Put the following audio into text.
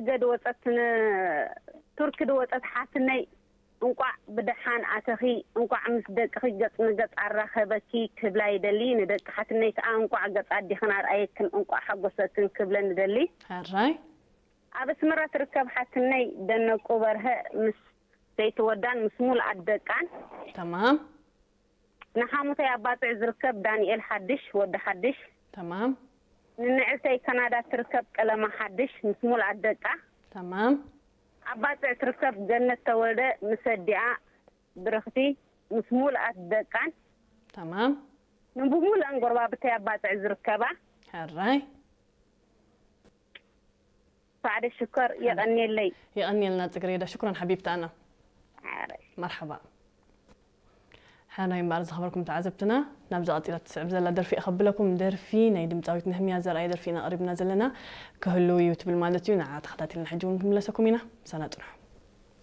ገድ ወጸት ን-፣ ቱርኪ ድወጸት ሓትነይ፣ እንቋዕ ብደሓን ኣተኺ፣ እንቋዕ ምስ ደቅኺ ገጽ ንገጽ ኣራኸበኪ ክብላ ይደሊ። ንደቂ ሓትነይ ከኣ እንቋዕ ገጽ ኣዲኽን ኣርኣየክን፣ እንቋዕ ሓጎሰክን ክብለን ንደሊ። ሕራይ። ኣብ ኣስመራ ትርከብ ሓትነይ ደነቁ በርሀ ምስ ሰይቲ ወዳን ምስ ሙሉኣት ደቃን። ተማም። ንሓሙተይ ኣብ ባጽዕ ዝርከብ ዳንኤል ሓድሽ፣ ወዲ ሓድሽ። ተማም። ንንዕልተይ ካናዳ ትርከብ ቀለማ ሓድሽ ምስ ሙሉኣት ደቃ። ተማም። ኣብ ባጽዕ ትርከብ ገነት ተወልደ ምስ ኣዲኣ ብርኽቲ ምስ ሙሉኣት ደቃን። ተማም። ንብሙሉኣን ጎረባብተይ ኣብ ባጽዕ ዝርከባ። ሕራይ። ሳዕደ ሽኮር የቐንየለይ። የቐንየልና ጽግሬዳ፣ ሽኩራን ሓቢብታና። ሓራይ። መርሓባ። ሕራይ እምበኣር ዝኸበርኩም ተዓዘብትና፣ ናብዛ ቀጺላ ትስዕብ ዘላ ደርፊ እኸብለኩም። ደርፊ ናይ ድምጻዊት ነህምያ ዘርኣይ ደርፊ ኢና ቀሪብና ዘለና። ክህልው እዩ ትብል ማለት እዩ። ንዓ ተኸታቲልና ሕጂ እውን ክንምለሰኩም ኢና። ምሳና ጽንሑ።